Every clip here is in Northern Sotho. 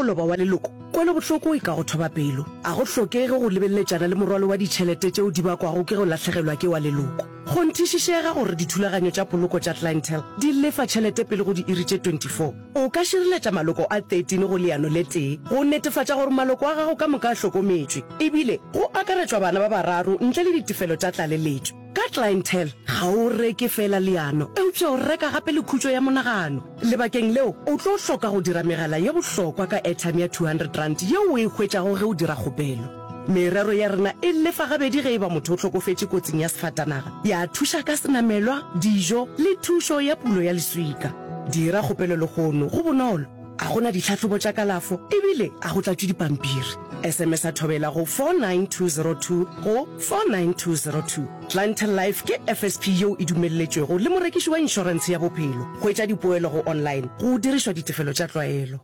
loba wa leloko, kwelobohloko e ka go thoba pelo. A go hlokege go lebeleletšana le morwalo wa ditšhelete tšeo di bakwago ke go lahlegelwa ke wa leloko. Kgonthišišega gore dithulaganyo tša poloko tša Clientele di lefa tšhelete pele go diiri tše 24. O ka šireletša maloko a 13 go leano le tee go netefatša gore maloko a gago ka moka a hlokometšwe, ebile go akaretšwa bana ba bararo ntle le ditefelo tša tlaleletšo. Ka Clientele, ga o reke feela leano, eupša o reka gape le khutšo ya monagano. Lebakeng leo, o tlo hloka go dira megala ye bohlokwa ka airtime ya R200 yeo o e hwetšago ge o dira kgopelo. Merero ya rena e lefa gabedi ge e ba motho o hlokofetše kotsing ya sefatanaga, ya thuša ka senamelwa, dijo le thušo ya pulo ya leswika. Dira kgopelo lehono, go bonolo, ga go na ditlhahlobo tša kalafo ebile ga go tlatšwe dipampiri. SMS-a Thobela go 49202 go 49202. Clientele Life ke FSP yeo e dumelletšwego le morekiši wa inšorentshe ya bophelo. Hwetša dipoelo go online go dirišwa ditefelo tša tlwaelo.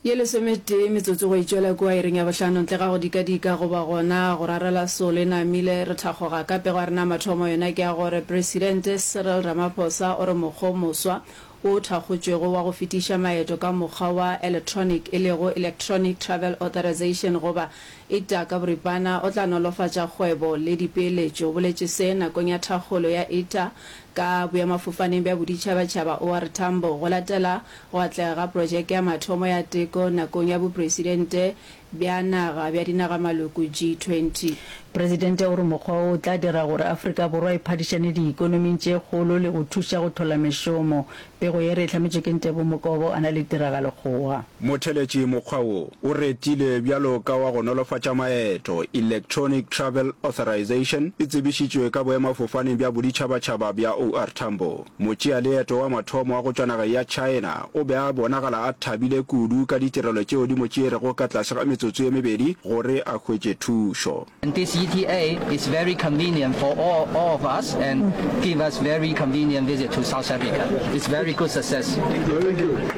Ye lesometee metsotso go e tšwela kua iring ya bohlano ntle ga go dikadika goba gona go rarela solo e namile re thakgoga ka pego ya rena ya mathomo yona ke ya gore Presidente Cyril Ramaphosa o re mokgwa o moswa wo o thakgotšwego wa go fetiša maeto ka mokgwa wa eletronic e lego Electronic Travel Authorisation goba ITA ka boripana o tla nolofatša kgwebo le dipeeletšo. O boletše se nakong ya thakgolo ya ITA ka boemafofaneng bja boditšhabatšhaba OR Tambo go latela Go atlega ga projeke ya mathomo ya teko nakong ya bopresidente bja naga bja dinagamaloko G20. Presidente o re mokgwa wo o tla dira gore Afrika Borwa e phadišane diikonoming tše kgolo le go thuša go hlola mešomo. Pego ye re e hlametšwe ke Ntebo Mokobo a na le Tiragalo Kgowa. Motheletši mokgwa wo o retilwe bjalo ka wa go nolofatša maeto, Electronic Travel Authorisation, e tsebišitšwe ka boemafofaneng bja boditšhabatšhaba bja OR Tambo. Motšealeeto wa mathomo wa go tšwa nageng ya China o be a bonagala a thabile kudu ka ditirelo tšeo di mo tšeerego ka tlase ga metsotso ye mebedi gore a hwetše thušo. And this ETA is very convenient for all, all of us and give us very convenient visit to South Africa. It's very good success. Thank you. Very good.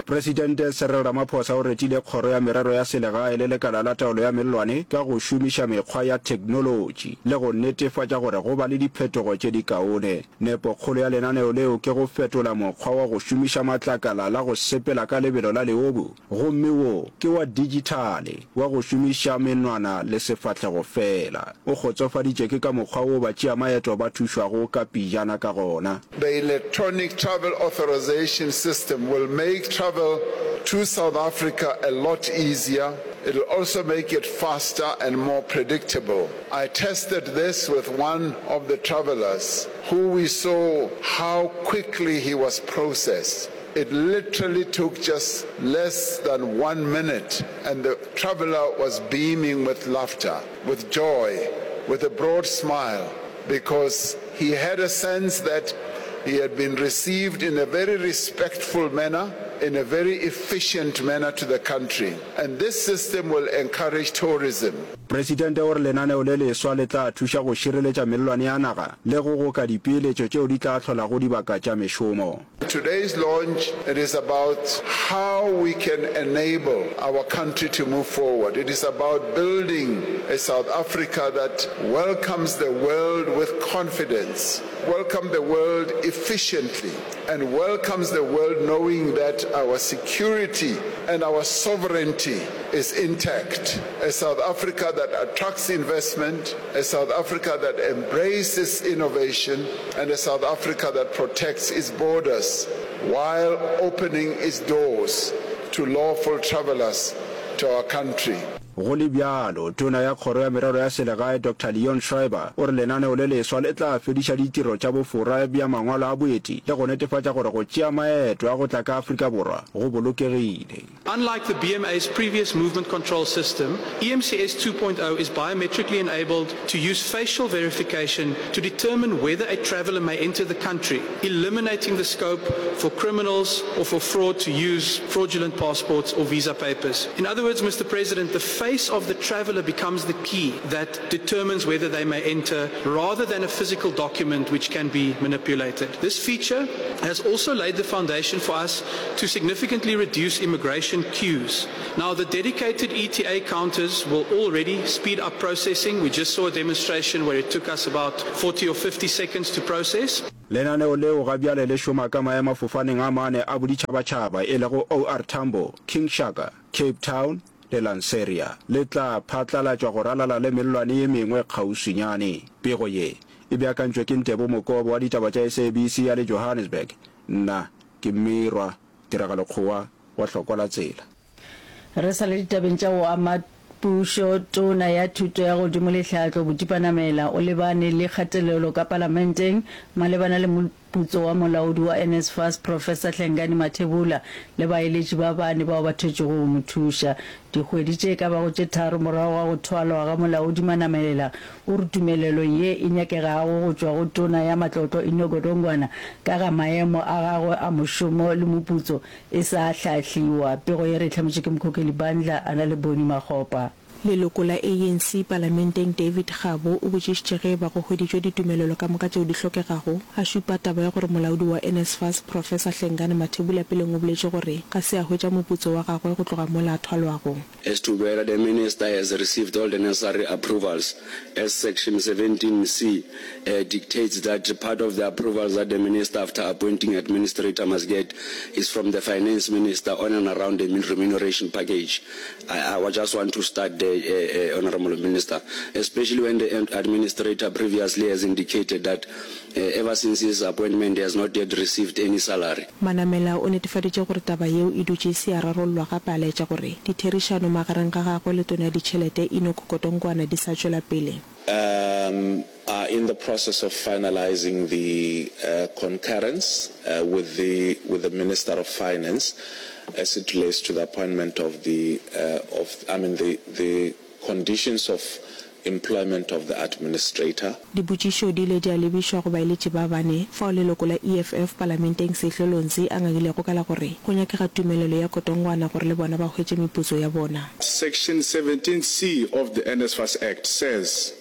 Presidente Cyril Ramaphosa o retile Kgoro ya Merero ya Selegae le Lekala la Taolo ya Mellwane ka go šomiša mekgwa ya theknolotši le go netefatša gore go ba le diphetogo tše dikaone. Nepokgolo ya lenaneo leo ke go fetola mokgwa wa go šomiša matlakala la go sepela ka lebelo la leobu gomme wo ke wa dijithale wa go šomiša menwana le sefahlego feela. O kgotsofaditše ke ka mokgwa wo batšeamaeto ba thušwago ka pejana ka gona. The electronic travel authorization system will make travel to South Africa a lot easier. It'll also make it faster and more predictable. I tested this with one of the travelers who we saw how quickly he was processed. It literally took just less than one minute and the traveler was beaming with laughter, with joy, with a broad smile because he had a sense that he had been received in a very respectful manner, in a very efficient manner to the country. And this system will encourage tourism. Presidente o re lenaneo le leswa le tla thuša go šireletša mellwane ya naga le go goka dipeeletšo tšeo di tla hlolago dibaka tša mešomo. Today's launch, it is about how we can enable our country to move forward. It is about building a South Africa that welcomes the world with confidence, welcome the world efficiently, and welcomes the world knowing that our security and our sovereignty is intact. A South Africa that attracts investment, a South Africa that embraces innovation, and a South Africa that protects its borders while opening its doors to lawful travelers to our country. Go le bjalo, Tona ya Kgoro ya Merero ya Selegae Doctor Leon Schreiber o re lenaneo le leswa le tla fediša ditiro tša bofora bja mangwalo a boeti le go netefatša gore go tšea maeto a go tla ka Afrika Borwa go bolokegile. Unlike the BMA's previous movement control system, EMCS 2.0 is biometrically enabled to use facial verification to determine whether a traveller may enter the country, eliminating the scope for criminals or for fraud to use fraudulent passports or visa papers. In other words, Mr. President, the face of the traveller becomes the key that determines whether they may enter rather than a physical document which can be manipulated. This feature has also laid the foundation for us to significantly reduce immigration queues. Now, the dedicated ETA counters will already speed up processing. We just saw a demonstration where it took us about 40 or 50 seconds to process. Lenaneo leo ga bjale le šoma ka maemafofaneng a mane a boditšhabatšhaba e lego OR Tambo, King Shaka, Cape Town le Lanseria. Le tla phatlalatšwa go ralala le mellwane ye mengwe kgauswinyane. Pego ye e beakantšwe ke Ntebo Mokobo wa ditaba tša SABC a le Johannesburg. Nna ke Mmirwa Tiragalo Kgowa wa Hlokwa la Tsela. Re sa le ditabeng tša go ama pušo, Tona ya Thuto ya Godimo le Tlhahlo, Botipa Namela, o lebane le kgatelelo ka Palamenteng malebana le moputso wa molaodi wa NSFAS, Professor Hlengani Mathebula le baeletši ba bane bao ba thwetšwego go mo thuša. Dikgwedi tše ka bago tše tharo morago ga go thwalwa ga molaodi Manamelela, o re tumelelo ye e nyakegago go tšwa go Tona ya Matlotlo Enoch Godongwana ka ga maemo a gagwe a mošomo le moputso e sa hlahliwa. Pego ye re e hlametšwe ke Mkhokheli Bandla a na le Bonnie Makgopa. Leloko la ANC palamenteng David Gabo o botšišitše ge eba go hweditšwe ditumelelo ka moka tšeo di hlokegago, a šupa taba ya gore molaodi wa NSFAS Professor Hlengani Mathebula peleng o boletše gore ga se a hwetša moputso wa gagwe go tloga mola a thwalwago. As to whether the Minister has received all the necessary approvals as section 17 C dictates that part of the approvals that the Minister after appointing administrator must get is from the Finance Minister on and around the remuneration package. I, I just want to start there, uh, uh, Honorable Minister, especially when the administrator previously has indicated that uh, ever since his appointment he has not yet received any salary. Manamela o netefaditše gore taba yeo e dutše e se ya rarollwa gape a laetša gore ditherišano magareng ga gagwe le Tona ya Ditšhelete Enoch Godongwana di sa tšwela pele. Um are in the process of finalising the concurrence with the with the Minister of Finance as it relates to the appointment of the of I mean the the conditions of employment of the administrator. Dipotšišo di ile tša lebišwa go baeletši ba bane, fao leloko la EFF palamenteng Sehlo Lonzi a ngangilego ka la gore go nyakega tumelelo ya Kotongwana gore le bona ba hwetše meputso ya bona. Section 17C of the NSFAS Act says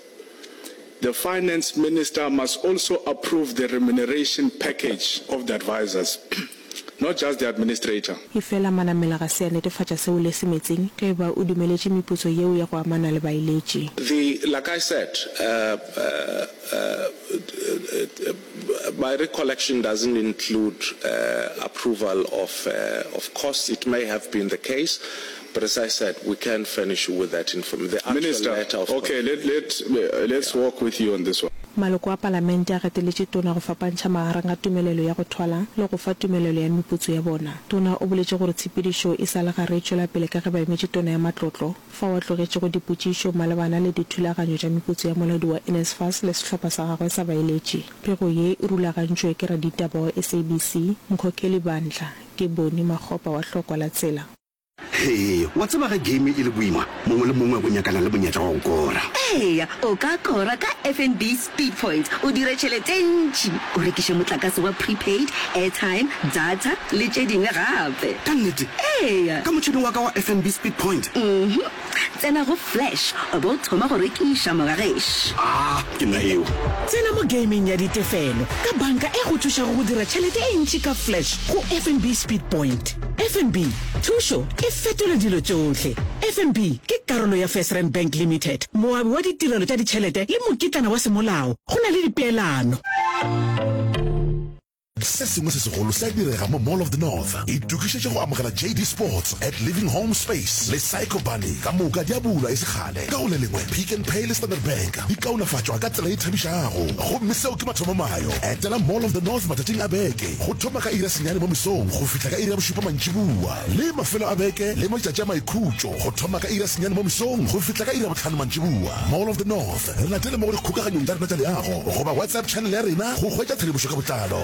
the Finance Minister must also approve the remuneration package of the advisors, not just the administrator. Efela Manamela ga se a netefatša seo le Semetsing ge eba o dumeletše meputso yeo ya go amana le baeletši. The, like I said, my recollection doesn't include approval of of costs. It may have been the case, but as I said, we can furnish you with that information, the actual Minister, letter of okay, let, let, let's walk with you on this one. Maloko a Palamente a gateletše Tona go fapantšha magareng ga tumelelo ya go thwala le go fa tumelelo ya meputso ya bona. Tona o boletše gore tshepedišo e sa le gare e tšwela pele ka ge ba emetše Tona ya Matlotlo, fao a tlogetšego dipotšišo malebana le dithulaganyo tša meputso ya molaodi wa NSFAS le sehlopha sa gagwe sa baeletši. Pego ye e rulagantšwe ke raditaba wa SABC, Mkhokheli Bandla, ke Bonnie Makgopa wa Hlokwa la Tsela. Hee, wa tseba ge game e le boima, mongwe le mongwe o nyakana le monyetla wa go kora. Eya, o ka kora ka FNB Speed Points o dire tšhelete e ntši, o rekiše motlakase wa prepaid, airtime, data le tše dingwe gape. Ka nnete? Eya. Ka motšhene wa ka wa FNB Speed Point? Uhum. Tsena go Flash o be o thoma go rekiša, mogagešo. Ah, ke nna eo. Tsena mo gameng ya ditefelo ka banka e go thušago go dira tšhelete e ntši ka Flash go FNB Speed Point. FNB, thušo e fetola dilo tšohle. FNB ke karolo ya FirstRand Bank Limited, moabi wa ditirelo tša ditšhelete le mokitlana wa semolao. Go na le dipeelano. Se sengwe se segolo se a direga mo Mall of the North. Itokišetše go amogela JD Sports at Living Home Space le Psycho Bunny ka moka di a bulwa e se kgale. Ka go le lengwe, Pick n Pay le Standard Bank di kaonafatšwa ka tsela e thabišago. Gomme seo ke mathomomayo. Etela Mall of the North matšatšing a beke go thoma ka iri ya senyane mo mesong go fihla ka iri ya bošupa mantšiboa, le mafelo a beke le matšatši a maikhutšo go thoma ka iri ya senyane mo mesong go fihla ka iri ya bohlano mantšiboa. Mall of the North, re latele mo go dikgokaganyong tša rena tša leago goba WhatsApp channel ya rena go hwetša tshedimošo ka botlalo.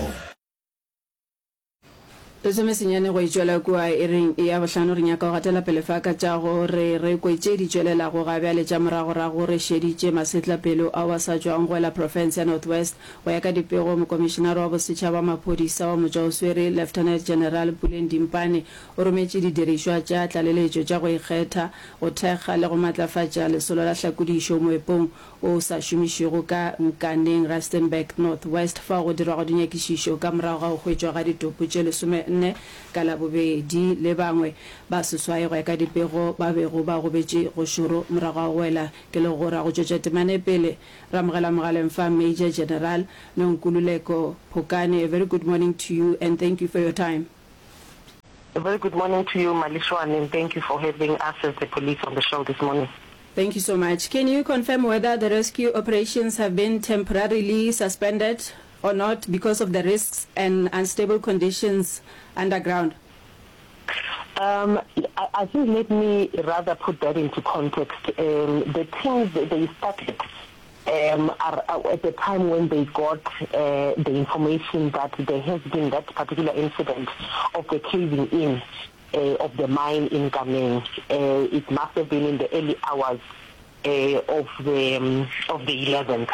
Lesomesenyane go e tšwela kua iring ya bohlano. Re nyaka go gatela pele fa ka tša go re re kwe tše di tšwelelago ga bjale tša moragorago. Re šeditše masetlapelo ao a sa tšwago go wela profense ya North West. Go ya ka dipego, Mokomišenare wa Bosetšhaba wa Maphodisa wa Motšwaoswere, Lieutenant General Puleng Dimpane, o rometše didirišwa tša tlaleletšo tša go ikgetha go thekga le go matlafatša lesolo la hlakodišo moepong wo o sa šomišwego ka Nkaneng, Rustenburg, North West, fao go dirwago dinyakišišo ka morago ga go hwetšwa ga ditopo tše nne ka Labobedi le bangwe ba seswai go ya ka dipego ba bego ba gobetše go šoro morago ga go wela ke legora. Go tšwetša temana e pele re amogela mogaleng fa Major General Nonkululeko Phokane. A very good morning to you and thank you for your time. A very good morning to you Maleshwane and thank you for having us as the police on the show this morning. Thank you so much. Can you confirm whether the rescue operations have been temporarily suspended or not because of the risks and unstable conditions underground? Um, I, I think let me rather put that into context. Um, the teams, they started um, are, uh, at the time when they got uh, the information that there has been that particular incident of the caving in uh, of the mine in Nkaneng. Uh, it must have been in the early hours uh, of the um, of the 11th.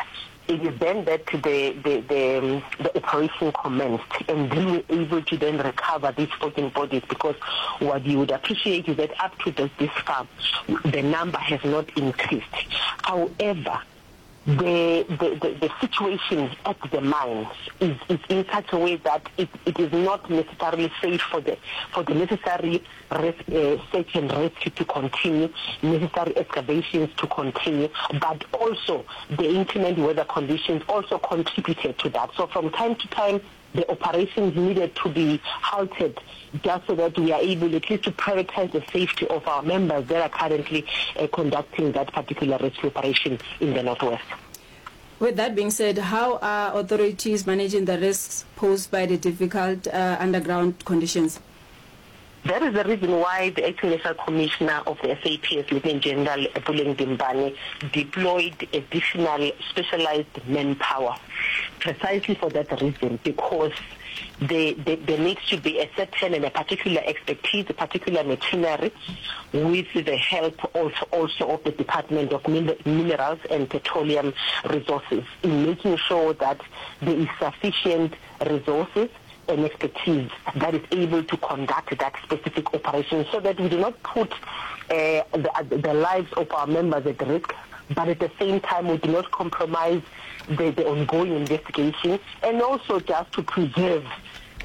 It is then that the, the, the, um, the operation commenced and we were able to then recover these 14 bodies because what you would appreciate is that up to this, this far, the number has not increased. However, the, the, the, the situation at the mines is, is in such a way that it, it is not necessarily safe for the, for the necessary res, uh, search and rescue to continue, necessary excavations to continue, but also the inclement weather conditions also contributed to that. So from time to time, the operations needed to be halted just so that we are able at least to prioritize the safety of our members that are currently uh, conducting that particular rescue operation in the Northwest. With that being said, how are authorities managing the risks posed by the difficult uh, underground conditions? That is the reason why the Acting National Commissioner of the SAPS, Lieutenant General Puleng Dimpane, deployed additional specialized manpower, precisely for that reason, because there, there, there needs to be a certain and a particular expertise, a particular machinery, with the help also, also of the Department of Minerals and Petroleum Resources in making sure that there is sufficient resources and expertise that is able to conduct that specific operation so that we do not put uh, the, the lives of our members at risk, but at the same time we do not compromise the, the ongoing investigation and also just to preserve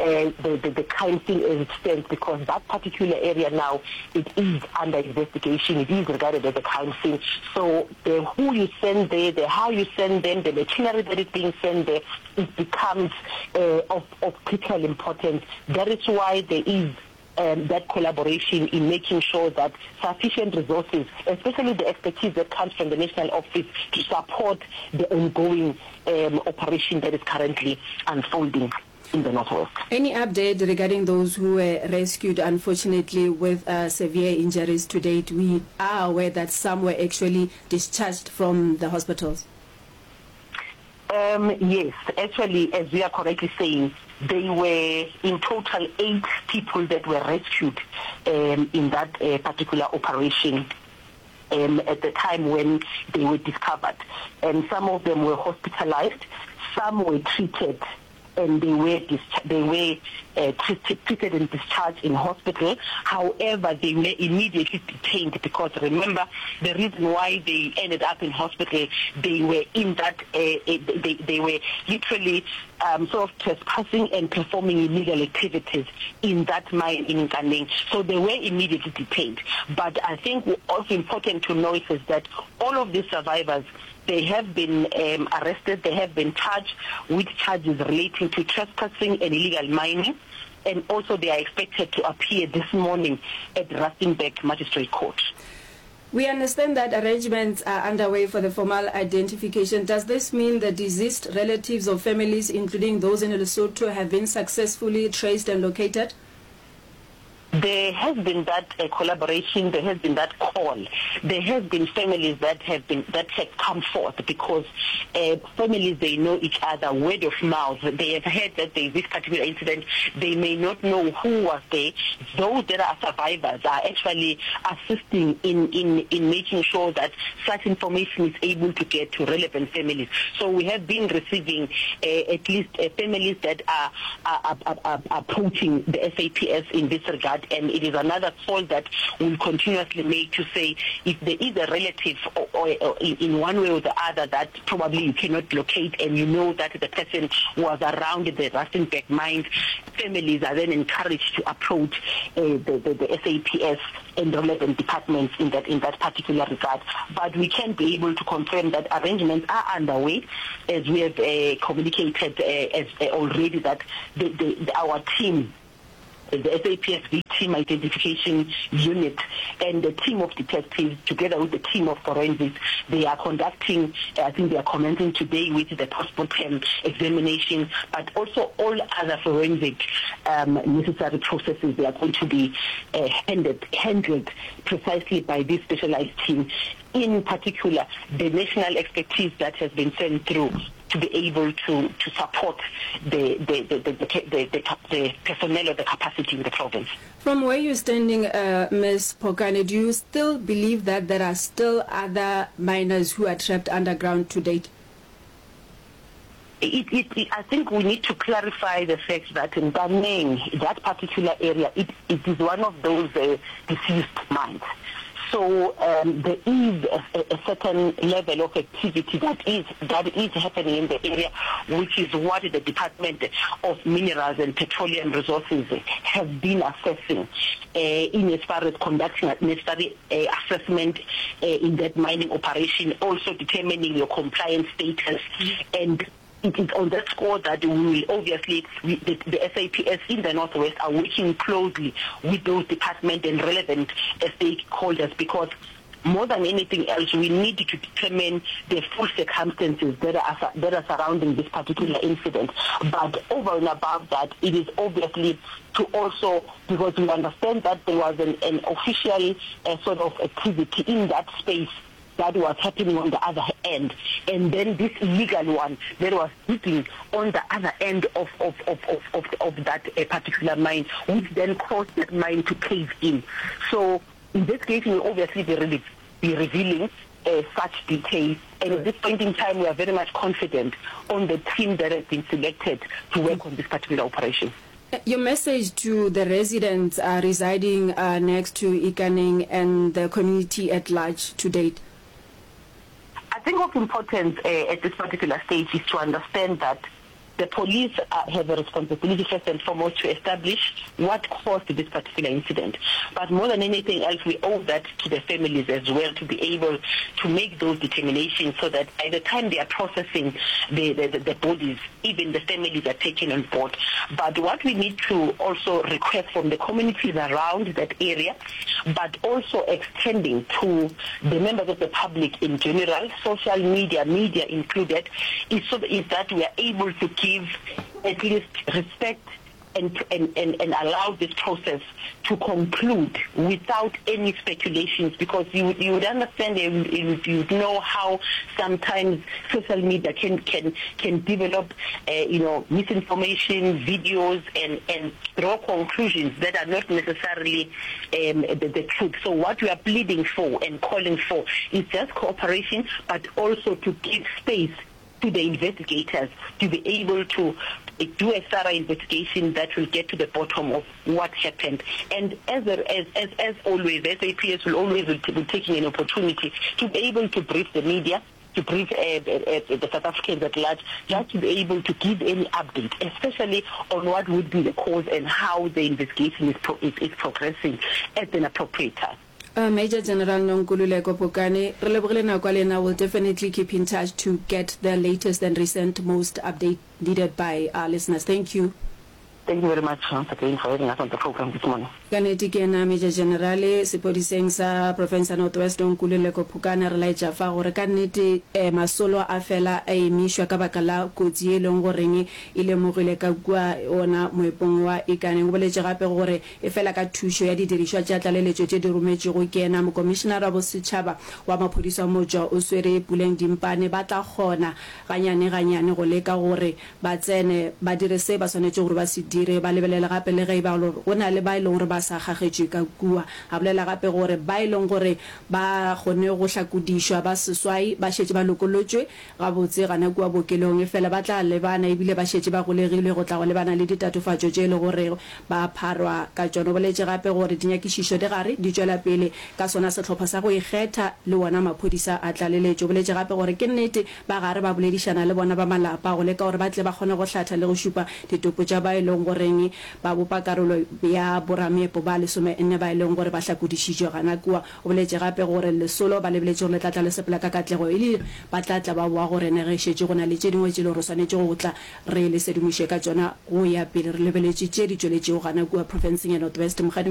uh, the, the, the crime scene as it stands because that particular area now, it is under investigation. It is regarded as a crime scene. So the who you send there, the how you send them, the machinery that is being sent there, it becomes uh, of, of critical importance. That is why there is um, that collaboration in making sure that sufficient resources, especially the expertise that comes from the national office, to support the ongoing um, operation that is currently unfolding in the Northwest. Any update regarding those who were rescued, unfortunately, with uh, severe injuries to date? We are aware that some were actually discharged from the hospitals. Um, yes, actually, as we are correctly saying, they were in total eight people that were rescued um, in that uh, particular operation um, at the time when they were discovered. And some of them were hospitalized, some were treated and they were they were uh, treated and discharged in hospital. However, they were immediately detained because remember the reason why they ended up in hospital, they were in that uh, uh they they were literally um, sort of trespassing and performing illegal activities in that mine in Nkaneng. So they were immediately detained. But I think also important to notice is that all of these survivors They have been um, arrested, they have been charged with charges relating to trespassing and illegal mining, and also they are expected to appear this morning at Rustenburg Magistrate Court. We understand that arrangements are underway for the formal identification. Does this mean the deceased relatives or families, including those in Lesotho, have been successfully traced and located? There has been that uh, collaboration, there has been that call. There has been families that have been that have come forth because uh, families they know each other word of mouth. They have heard that there is this particular incident. They may not know who was there. Those that are survivors are actually assisting in, in, in making sure that such information is able to get to relevant families. So we have been receiving uh, at least uh, families that are, are, are, are approaching the SAPS in this regard. And it is another call that we'll continuously make to say if there is a relative or, or, or in, in one way or the other that probably you cannot locate and you know that the person was around the Rustenburg mines, families are then encouraged to approach uh, the, the, the SAPS and relevant departments in that, in that particular regard. But we can be able to confirm that arrangements are underway, as we have uh, communicated uh, as, uh, already that the, the, the, our team the SAPSV team identification unit and the team of detectives together with the team of forensics they are conducting I think they are commencing today with the postmortem examination but also all other forensic um, necessary processes they are going to be uh, handed, handled precisely by this specialized team in particular the national expertise that has been sent through to be able to, to support the, the, the, the, the, the, the personnel or the capacity in the province. From where you're standing, uh, Ms. Phokane, do you still believe that there are still other miners who are trapped underground to date? It, it, it, I think we need to clarify the fact that in Mponeng, that particular area, it, it is one of those uh, diseased mines. So um, there is a, a certain level of activity that is, that is happening in the area, which is what the Department of Minerals and Petroleum Resources have been assessing uh, in as far as conducting necessary uh, assessment uh, in that mining operation, also determining your compliance status and it is on that score that we will obviously, we, the, the SAPS in the Northwest are working closely with those departments and relevant stakeholders because more than anything else, we need to determine the full circumstances that are, that are surrounding this particular incident. But over and above that, it is obviously to also, because we understand that there was an, an official uh, sort of activity in that space that was happening on the other end and then this illegal one that was digging on the other end of, of, of, of, of, of that uh, particular mine, which then caused that mine to cave in. So investigation will obviously be, re be revealing uh, such details. And at this point in time, we are very much confident on the team that has been selected to work on this particular operation. Your message to the residents uh, residing uh, next to Ikaneng and the community at large to date? I think of importance uh, at this particular stage is to understand that the police uh, have a responsibility first and foremost to establish what caused this particular incident. But more than anything else, we owe that to the families as well to be able to make those determinations so that by the time they are processing the, the, the, the bodies, even the families are taken on board. But what we need to also request from the communities around that area, but also extending to the members of the public in general, social media, media included, is, so, is that we are able to give at least respect and, and, and, and allow this process to conclude without any speculations because you, you would understand and you, you would know how sometimes social media can, can, can develop uh, you know, misinformation, videos, and, and draw conclusions that are not necessarily um, the, the truth. So what we are pleading for and calling for is just cooperation, but also to give space to the investigators to be able to do a thorough investigation that will get to the bottom of what happened. And as, as, as, as always, SAPS will always be taking an opportunity to be able to brief the media, to brief uh, uh, uh, the South Africans at large, just to be able to give any update, especially on what would be the cause and how the investigation is, pro is, is progressing at an appropriate time. Uh, Major General Nonkululeko Phokane, re lebogile nako ya lena, will definitely keep in touch to get the latest and recent most update needed by our listeners. Thank you. Thank you very much once again for having us on the program this morning. Ka nnete ke yena Major General sepodiseng sa profense ya North West Nonkululeko Phokane re laetša fa gore ka nnete eh, masolo a fela a emišwa ka baka la kotsi ye e leng goreng e lemogilwe ka kua ona moepong wa Ikaneng. O boletše gape gore Efela ka thušo ya didirišwa tša tlaleletšo tše di rometšwego ke yena, Mokomišenara wa Bosetšhaba wa Maphodisa wa Motšwa o swere Puleng Dimpane, ba tla kgona ganyane-ganyane go leka gore ba tsene ba dire se ba swanetšego gore ba se dire. dire, ba lebelele gape le ge e ba go na le ba e leng gore ba sa kgagetšwe ka kua. A bolela gape gore ba e leng gore ba kgonne go hlakodišwa ba seswai ba šetše ba lokolotšwe gabotse gana kua bookelong, efela ba tla lebana ebile ba šetše ba golegilwe go tla go lebana le ditatofatšo tše e le gore ba pharwa ka tšona. O boletše gape gore dinyakišišo di gare di tšwela pele ka sona sehlopha sa go ikgetha le wona maphodisa a tlaleletšo. O boletše gape gore ke nnete ba gare ba boledišana le bona ba malapa go leka gore ba tle ba kgone go hlatha le go šupa ditopo tša ba e leng goreng ba bopa karolo ya borameepo ba lesomenne ba e leng gore ba hlakodišitšwe gana kua. O boletše gape gore lesolo ba lebeletše gore le tla tla le sepela ka katlego e le ba tla tla ba boa go rena ge šetše go na le tše dingwe tše le gore re swanetše go tla re le sedimoše ka tšona go ya pele re lebeletše tše di tšweletšego gana kua profenseng ya North West. Mokgadi.